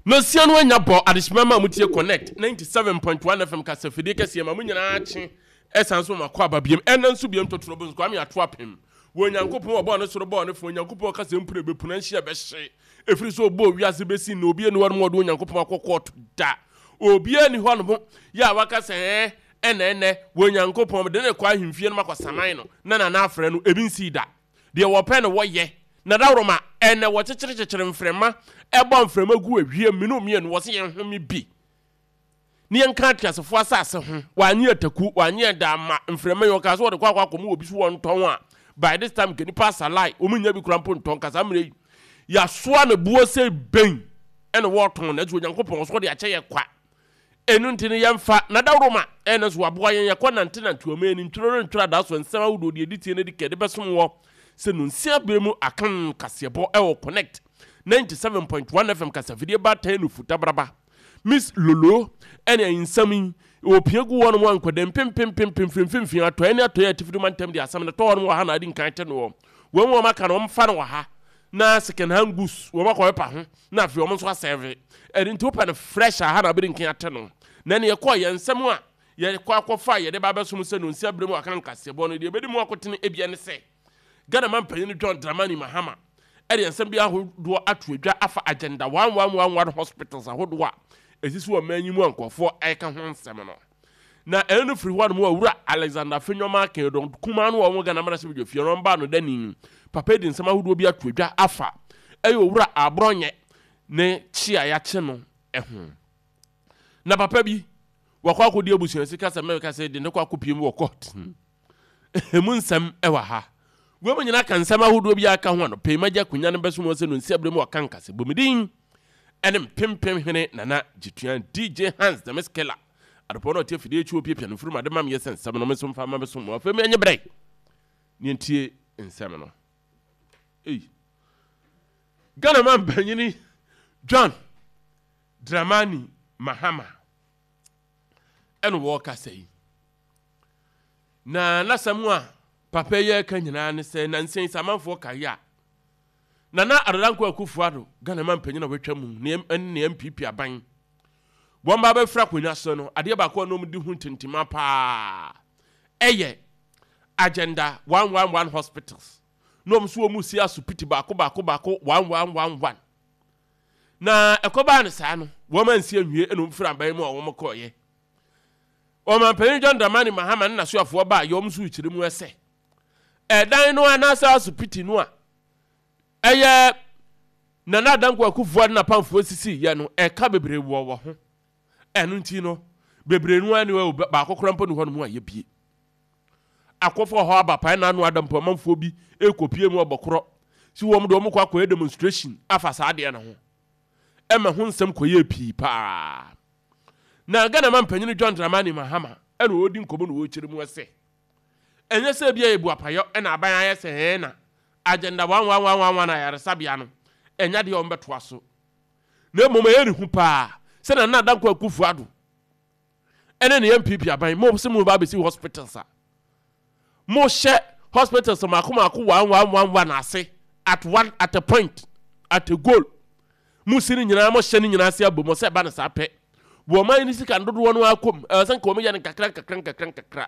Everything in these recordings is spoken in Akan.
Nosia no anya bɔ adehyema ma motie Connect 97.1 FM kasafidie kɛseɛ ma mo nyinaa kye ɛsan so ma kɔ aba biem ɛna nso biem totoro bonso Kwame ato apem wɔ Onyankopɔn ɔbɔɔ ne soro bɔɔ ne fam Onyankopɔn ɔka sɛ mpuna bɛpuna nhyia bɛhye ɛfiri sɛ ɔbɔɔ wiase bɛsi nnɛ obi ani hɔ nom ɔde Onyankopɔn akɔ kɔɔto da obi ani hɔ nom yɛ a waka sɛ ɛɛ ɛna ɛnɛ wɔ Onyankopɔn mede ne kɔ ahemfie no makɔ saman no na nana afrɛ no ebi nsii da. Deɛ wɔpɛ na wɔyɛ. Na dawuroma, ɛnnɛ wɔkyekyerekyekyere mframa, ɛbɔ mframa gu ewiem, mene omienu, wɔse yɛn home bi ne yɛnka ateasefoɔ asase ho, wɔanye ataku, wɔanye ɛda ama mframa yi, ɔkaa sɛ wɔde kɔ akɔ akɔma obi so wɔntɔn a, by this time nka nipa asalae, wɔn nnya bi koraa mpo ntɔn, nka saa mmerɛ yi, yɛasoa ne boɔ sɛ bɛn ɛna wɔretɔn, nanso Onyankopɔn ɔso ɔde akyɛ yɛ kwa. Ɛno nti no, yɛmfa N'adaworoma ɛna nso waboa yɛn yɛkɔ nantenante ɔman ani ntwerɛ rentwerɛ adaso nsɛm ahodoɔ deɛ ɛdi tie no adi kɛ de bɛsom wɔ sɛ nonsia berɛ mu akan kaseɛbɔ ɛwɔ Connect 97.1 FM kasafidie baatan no futabraba Miss Lolo ɛne nsɛm yi wɔpia gu wɔnom a nkwadaa mpempempempem firi mfimfini atɔeɛ ne atɔeɛ atifido mantam de asɛm no tɔ wɔnom wɔ ha na adi nkan te noɔ wɔn wɔn aka no wɔmfa no wɔ ha na second hand goods wɔn akɔpepa ho na afei wɔn nso asɛve. Ɛno nti wopɛ no fresh a, ha na wobɛdi nkan ate no. Na ɛne yɛkɔɔ yɛn nsɛm a yɛkɔ akɔfa a yɛde ba abɛsom sɛ nonsia berɛ mu aka nkaseɛbɔ no, deɛ ɛbɛdi mu akotene ebia ne sɛ Ghana manpanyin John Dramani Mahama de nsɛm bi ahodoɔ ato adwa afa Agenda 1111 hospitals ahodoɔ a ɛsisi wɔ man yi mu a nkurɔfoɔ ɛreka ho nsɛm no. Na ɛno no firi hɔ nom Owura Alexander Afenyo-Markin Ɔdɔn kumaa no a ɔwɔ Ghana mmarahyɛbadwafie no ɔmbaa no dani. Papa yi de nsɛm ahodoɔ bi ato dwa afa ɛyɛ Owura Aborɔnyɛ ne kye a yɛakye no ho. Na papa bi wakɔ akɔdi abusua sika sɛ mɛka sɛ de ne kɔ akɔpie mu wɔ court. Emu nsɛm ɛwɔ ha. Wei mu nyinaa ka nsɛm ahodoɔ bi a aka ho anɔpa yi. Magye akonnwa no bɛsom wɔ sɛ no nsi abere mu ɔka nkase. Bɔ me din ɛne mpempem hene Nana Gyetuan DJ Hans the Miss Killer. Adepɔn na ɔte afidie akyi ɔpiapia no mfurum ade ma meyɛ sɛ nsɛm no me nso mfa ma bɛsom mo. Afei me nye berɛ ne ntie nsɛm no. Ei. Ghana man panyini John Dramani Mahama ɛna wɔrekasa yi. Na n'asɛm a papa yi reka nyinaa ne sɛ nansa yi sɛ amanfoɔ kae a Nana Addo Dankwa Akufo-Addo Ghana man panyin a watwa mu ne ne NPP aban wɔn ba bɛfiri akonnwa so no adeɛ baako a na wɔn di ho ntintima paa ɛyɛ Agenda 111 hospitals na wɔn nso wɔn si asopiti baako baako baako 1111 na ɛkɔbaa no saa no wɔn ansi anwie ɛna wɔn firi aban mu a wɔn kɔɔyɛ. Ɔmanpanyin John Dramani Mahama ne n'asoafoɔ baa yɔm nso rekyerɛ mu sɛ, ɛdan no anaasɛ asopiti no a ɛyɛ Nana Dankwa Akufo-Addo ne n'apamfoɔ sisiiɛ no, ɛka bebree wɔ wɔ ho. Ɛno nti no, bebree no ara ni hɔ, baako koraa mpo ni hɔnom a yɛbie. Akɔfo hɔ aba pae na ano ada mpo amanfoɔ bi rekɔpie mu ɔbɔkorɔ si wɔn de wɔn kɔ akɔyɛ demonstration afa saa adeɛ no ho. Ɛma ho nsɛm kɔyɛɛ pii paa. Na Ghana manpanyin John Dramani Mahama na ɔredi nkɔmmɔ na ɔrekyerɛ mu sɛ, ɛnyɛ sɛ ebia yɛ buapayɔ na aban ayɛ sɛ ɛɛ na Agenda 1111 ayaresabea no ɛnyɛ adeɛ a wɔbɛtoa so na mmom ɛyɛ ne hu paa sɛ Nana Dankwa Akufo-Addo ɛne ne NPP aban mo sɛ mo ba abɛsi hospitals a mohyɛ hospitals mako mako one one one one ase at one at a point at a goal mo si no nyinaa mohyɛ no nyinaa ase abom sɛ ɛba no saa pɛ wɔn man no sika no dodoɔ no akɔm ɛwɔ sɛ nka wɔn yɛ no nkakra nkakra nkakra nkakra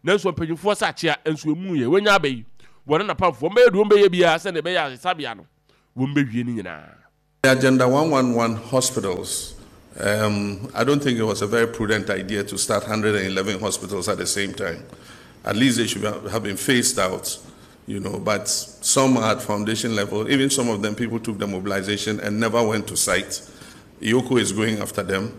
nanso mpanyinfoɔ sɛ akyea nso emu yɛ wɔnya aba yi wɔn napamfoɔ wɔn bɛyɛ deɛ wɔn bɛyɛ biara sɛ ɛbɛyɛ asesabea no wɔn bɛwie no nyinaa. The Agenda 111 hospitals, I don't think it was a very prudent idea to start 111 hospitals at the same time. At least they should have been phased out, but some are at foundation level. Even some of them, people took the mobilization and never went to site. EOCO is going after them.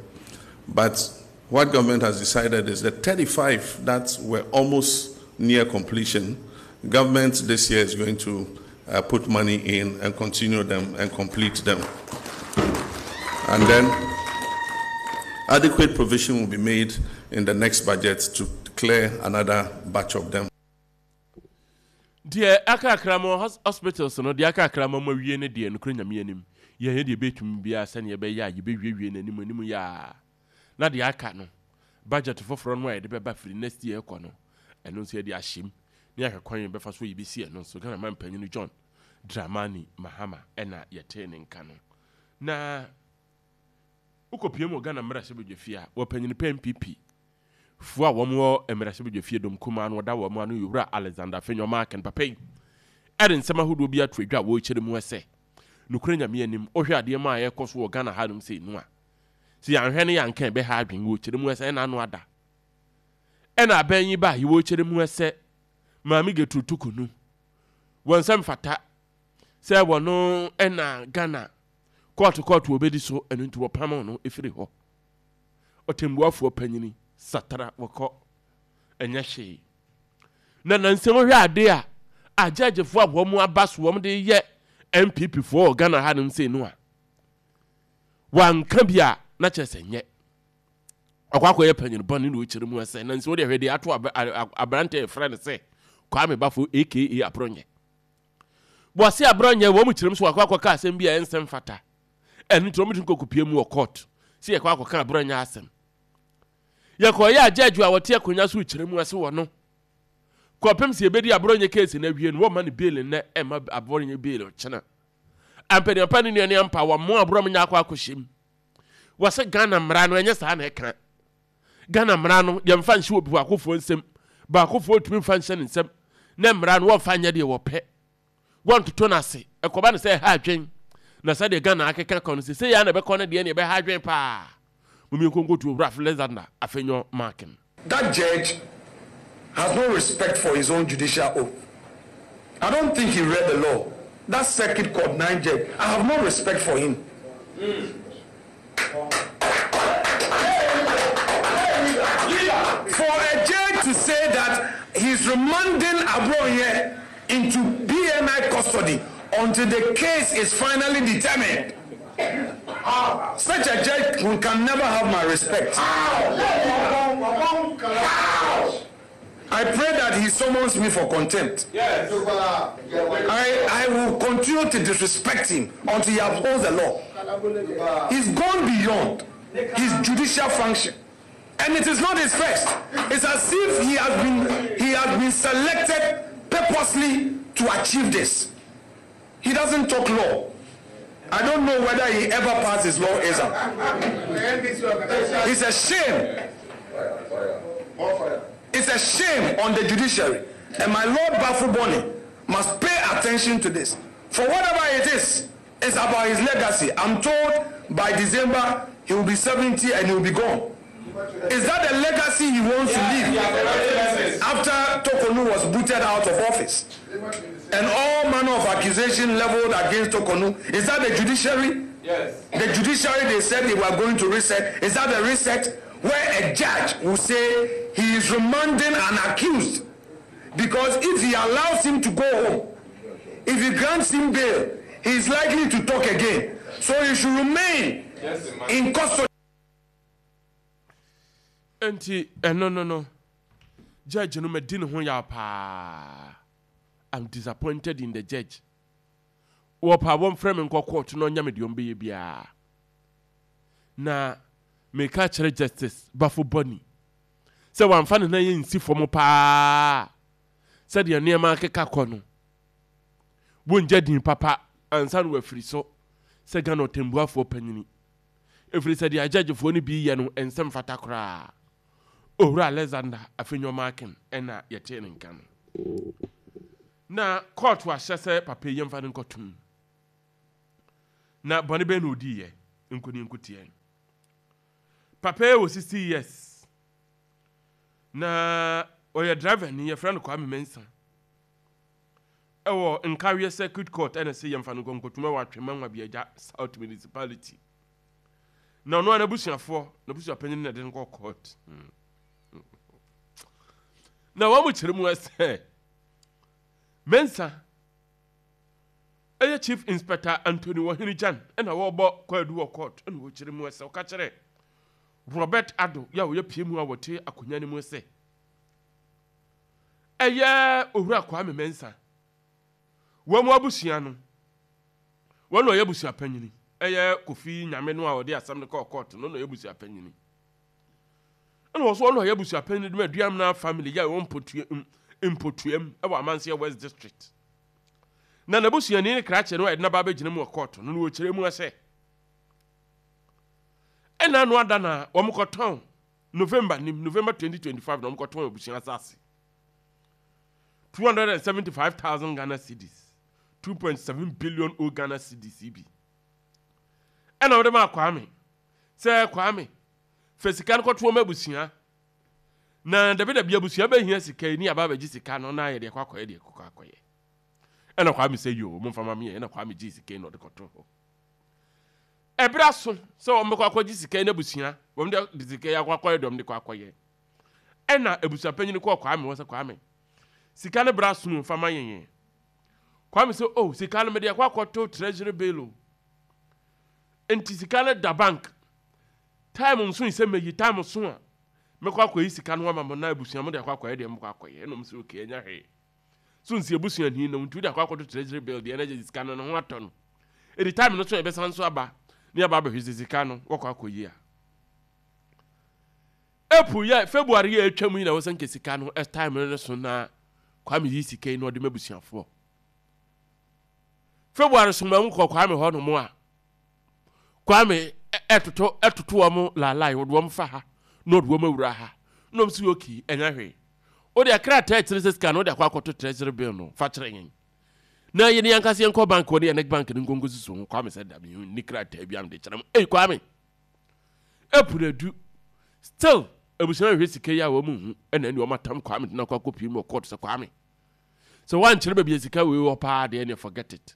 But what government has decided is that 35 that were almost near completion, government this year is going to put money in and continue them and complete them. And then adequate provision will be made in the next budget to clear another batch of them. Deɛ aka akra mo hospitals no, deɛ aka akra mo awie no deɛ, nokorɛ Nyame anim, yɛnyɛ deɛ yɛbɛtumi biara sɛdeɛ ɛbɛyɛ a yɛbɛwiewie no anim anim yɛ ara. Na deɛ aka no, budget foforɔ no a yɛde bɛba firi next year rekɔ no, ɛno nso yɛde ahyɛ mu na yɛahwɛ kwan a yɛbɛfa so a yɛbɛsi ɛno nso. Ghana manpanin John Dramani Mahama na yɛtee ne nka no. Na. Wokɔpue mu wɔ Ghana mmarahyɛbadwafie a, wɔ panyin pa NPP foɔ a wɔn wɔ mmarahyɛbadwafie dɔm kumaa no wɔda wɔn ano yɛ Owura Alexander Afenyo Markin. Papa yi de nsɛm ahodoɔ bi ato adwa a wɔrekyerɛ mu sɛ, nokorɛ Nyame anim, wohwɛ adeɛ mu a ɛrekɔ so wɔ Ghana hanom sei no a, sɛ yɛanhwɛ ne yɛanka a ɛbɛha adwene. Wɔrekyerɛ mu sɛ ɛna ano ada ɛna abɛn yi ba yi, wɔrekyerɛ mu sɛ Maame Gertrude Torkornoo, wɔn nsa mfata sɛ wɔno ɛna Ghana kɔɔto kɔɔto wɔbɛdi so, ɛno nti wɔpamoo no firi hɔ. Ɔtɛmbuafoɔ panyini Satara wɔkɔ ɛnyɛ hwee. Na nansɛm hwɛ ade a agyɛgyefoɔ a wɔn aba so wɔn de yɛ NPP foɔ wɔ Ghana ha nom sei no a, wanka bi a na kyerɛ sɛ nyɛ. Ɔkɔ akɔyɛ panyin bɔne na ɔkyerɛ mu sɛ nansɛm wodeɛ hwɛ deɛ ato aberante a yɛfrɛ no sɛ Kwame Bafo aka Aborɔnyɛ. Wɔse aberɛ nyɛ wɔn kyerɛm so wakɔ akɔka asɛm bi a ɛnsɛ mfata. Ɛno nti wɔn de no kɔkɔpie mu wɔ court sɛ yɛkɔ akɔka aberɛ nyɛ asɛm. Yɛkɔyɛ a judge a wɔte akonnwa so kyerɛ mu ase wɔ no. Kɔpem sɛ yɛbɛdi aberɛ nyɛ case no awie no wɔmma no bail nnɛ ɛmma aberɛ nyɛ bail ɔkyena. Ampaniampa ne nua ne ampa wɔmmo aberɛ nyɛ akɔ akɔhyɛ mu. Wɔse Ghana mmara no ɛnyɛ saa na ɛka. Ghana mmara no yɛmfa nhyɛ obi baakofoɔ nsam, baakofoɔ ntumi mfa nhyɛ ne nsam, na mmara no wɔmfa nyɛ deɛ wɔpɛ, wɔntoto no ase, ɛkɔba no sɛ ɛha adwen, na sɛdeɛ Ghana akeka kɔ no sesei ara na ɛbɛkɔ no deɛ na ɛbɛha adwen paa. Mom yɛnkɔ nkɔtu Owura Alexander Afenyo Markin. That judge has no respect for his own judicial oath. I don't think he read the law. That circuit court nine judge, I have no respect for him. For a judge to say that he's remanding Abronye into BNI custody until the case is finally determined. Such a judge can never have my respect. I pray that he summons me for contempt. Yes. I, I will continue to disrespect him until he upholds the law. He's gone beyond his judicial function. And it is not his first. It's as if he has been he has been selected purposely to achieve this. He doesn't talk law. I don't know whether he ever passed his law exam. It's a shame. It's a shame on the judiciary. And my Lord Baffoe-Bonnie must pay attention to this. For whatever it is, it's about his legacy. I'm told by December he will be 70 and he will be gone. Is that the legacy he wants to leave after Torkornoo was booted out of office? And all manner of accusation leveled against Torkornoo. Is that the judiciary? Yes. The judiciary, they said they were going to reset. Is that the reset? Where a judge will say he is remanding an accused because if he allows him to go home, if he grants him bail, he is likely to talk again. So he should remain yes, in custody. Enti ɛno no no, judge no madi ne ho yaw paa. I'm disappointed in the judge. Wɔpɛ a wɔmfrɛ me nkɔ court na ɔnyɛ me deɛ ɔmbɛyɛ biara. Na meka kyerɛ Justice Bafo Boni sɛ wamfa ne nan ansi fam paa sɛdeɛ nneɛma akeka kɔ no, wɔngya din papa ansa na wafiri so sɛ Ghana ɔtɛmbuafoɔ panyini. Ɛfiri sɛ deɛ agyɛgyefoɔ no bi reyɛ no ɛnsɛ mfata koraa. Owura Alexander Afenyo Markin na yɛtee ne nka no. Na kɔɔto ahyɛ sɛ papa yi yɛmfa no nkɔtom. Na bɔne bɛn na ɔdiiɛ? Nkɔ ne nkotiɛ. Papa yi wɔ 60 years. Na ɔyɛ driver ni, yɛfrɛ no Kwame Mensah. Ɛwɔ Nkawie Circuit Court ɛna ɛsɛ yɛmfa no nkɔ nkɔtum ɛwɔ Atwema Nwabiagya South Municipality. Na ɔno a n'abusuafoɔ, n'abusuapanyin na ɛde no kɔ court. Na wɔn kyerɛ mu sɛ Mensah ɛyɛ Chief Inspector Anthony Wɔhene Gyan ɛna wɔrebɔ kwaadu wɔ court ɛna wɔkyerɛ mu sɛ ɔka kyerɛ Robert Addo yɛ a ɔyɛ pie mu a wɔte akonnwa no mu sɛ Ɛyɛ Owura Kwame Mensah. Wɔn abusua no, wɔn na ɔyɛ abusua panyini. Ɛyɛ Kofi Nyame no a ɔde asɛm no kɔɔ kɔɔto no na ɔyɛ abusua panyini. Ɛna wɔn nso wɔn na ɔyɛ abusua panyini de ma Aduamena family yɛ wɔn mpotua mpotuam ɛwɔ Amanseɛ West District. Na n'abusuani ne krakye no a yɛde n'aba abɛgyina mu wɔ kɔɔto no na wɔkyerɛ mu sɛ. Ɛna ano ada na wɔn kɔtɔn November nim November 2025 na wɔn kɔtɔn abusua asase 275,000 Ghana cedis 2.7 billion old Ghana cedis yi bi ɛna wɔde maa Kwame sɛ Kwame fa sika no kɔto wɔn abusua na dabidabi abusua bɛhia sika yi ne aba abɛgye sika no na ayɛ deɛ kɔ akɔyɛ deɛ kɔ akɔyɛ ɛna Kwame sɛ yoo momfa ma meɛ ɛna Kwame gyee sika yi na ɔde kɔto hɔ Ɛberɛ aso sɛ wɔbɛkɔ akɔgye sika yi n'abusua, wɔn de sika yi akɔ akɔyɛ deɛ wɔn de kɔ akɔyɛ. Ɛna abusua panyin kɔɔ Kwame hɔ sɛ Kwame, sika no berɛ aso o, fa ma yɛn yɛn. Kwame sɛ oh, sika no mede akɔ akɔto treasury bill o. Nti sika no da bank. Time nso sɛ mɛyi, time so a mɛkɔ akɔyi sika no ama mo na abusua mo de akɔ akɔyɛ deɛ mokɔ akɔyɛ. Ɛna wɔn sɛ okay, ɛnyɛ hwee. So nsi abusuani no nti wode akɔ akɔto treasury bill deɛ na gye sika no ne ho atɔ no. Ɛdi time no so yɛbɛsan nso aba ne aba abɛhwɛ sɛ sika no wɔkɔ akɔyi a. April yɛ February yɛ atwa mu yi na wɔsɛ nka sika no time no so na Kwame yi sika yi na ɔde ma abusuafoɔ. February so ma nkɔ Kwame hɔ nom a Kwame ɛtoto ɛtoto wɔn laalae wɔde wɔn fa ha na ɔde wɔn awura ha na wɔn si okay ɛnyɛ hwee. Wode krataa a ɛkyerɛ sɛ sika no wode akɔ akɔto treasury bill no fa kyerɛ yɛn. Na yɛne yɛn ankasa yɛnkɔ bank hɔ ne yɛne bank no nkonko susu ho. Kwame sɛ da me nni krataa bi a mede kyerɛ mo. Ei Kwame! April adu. Still abusua hwehwɛ sika yi a wɔn nhu ɛna ɛne wɔn atam Kwame de no akɔ akɔpie mu wɔ court sɛ Kwame sɛ woankyerɛ baabi a sika wei wɔ paa deɛ ɛneɛ forget it.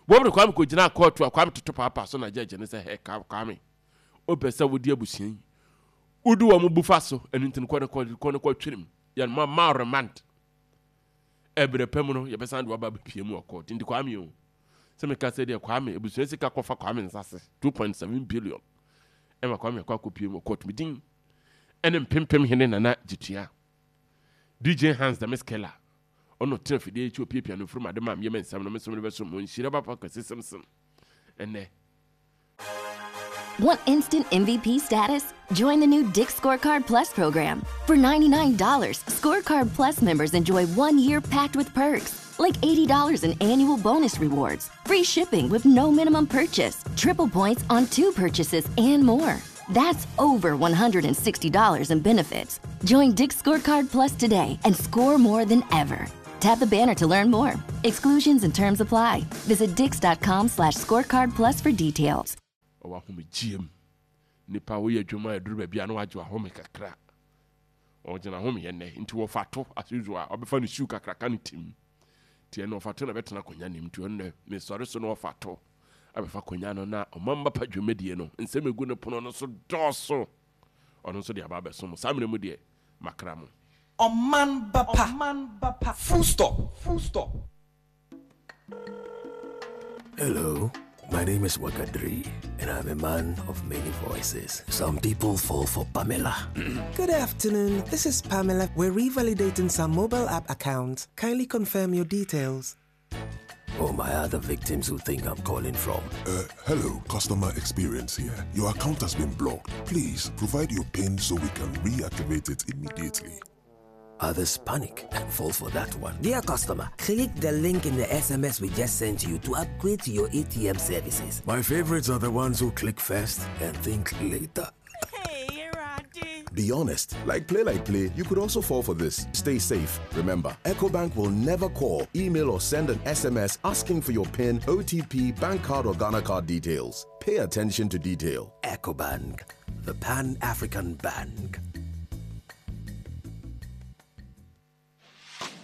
Wɔn de Kwame kɔgyinaa court a Kwame toto paapaa so na judge no sɛ hɛ Kwame wopɛ sɛ wode abusua yi wodi wɔn bu fa so ɛno nti no kɔ ne kɔ kɔ ne kɔ twenem yɛn ma ma remand ɛbrɛ pɛ mu no yɛbɛsan de waba abɛpie mu wɔ court nti Kwame o sɛ meka sɛ deɛ Kwame abusua sika kɔfa Kwame nsa se 2.7 billion ɛma Kwame akɔ akɔpie mu wɔ court medin ɛne mpempem hene Nana Gyetua DJ Hans the Miss Keller ɔno tena fidie akyi opiapia no mfurum ade ma meyɛ me nsɛm no me nso mede bɛso mo nhyira papa Kwasi Simpson ɛnɛ. Want instant MVP status? Join the new Dick's Scorecard Plus program. For $99, Scorecard Plus members enjoy one year packed with perks, like $80 in annual bonus rewards, free shipping with no minimum purchase, triple points on two purchases, and more. That's over $160 in benefits. Join Dick's Scorecard Plus today and score more than ever. Tap the banner to learn more. Exclusions and terms apply. Visit dix.com slash scorecard plus for details. Ɔwɔ ahomegyeɛ mu. Nipa woyɛ adwuma a ɛduru baabi a na wagye wahome kakra. Ɔgyina home yɛ nnɛ nti wɔfa to as usual a ɔbɛfa ne shoe kakraka no tim. Nti ɛno ɔfa to na bɛtena akonnwa nim nti ɔno nɛ mesɔre so na ɔfa to abɛfa akonnwa no na ɔmamba pa dwumadie no nsɛm egu ne pono no so dɔɔso. Ɔno nso de aba abɛso mo. Saa mmerɛ mu deɛ makra mo. Ɔman ba pa. Full stop. Full stop. Hello, my name is Wakadri, and I'm a man of many voices. Some people fall for Pamela. Good afternoon, this is Pamela. We're revalidating some mobile app accounts. Kindly confirm your details. Or my other victims who think I'm calling from. Uh, hello, customer experience here. Your account has been blocked. Please provide your PIN so we can reactivate it immediately. Others panic and fall for that one. Dear customer, click the link in the SMS we just sent you to upgrade to your ATM services. My favorites are the ones who click first and think later. Be honest. Like play, like play, you could also fall for this. Stay safe. Remember, EcoBank will never call, email, or send an SMS asking for your PIN, OTP, bank card, or Ghana card details. Pay attention to detail. EcoBank, the Pan African Bank.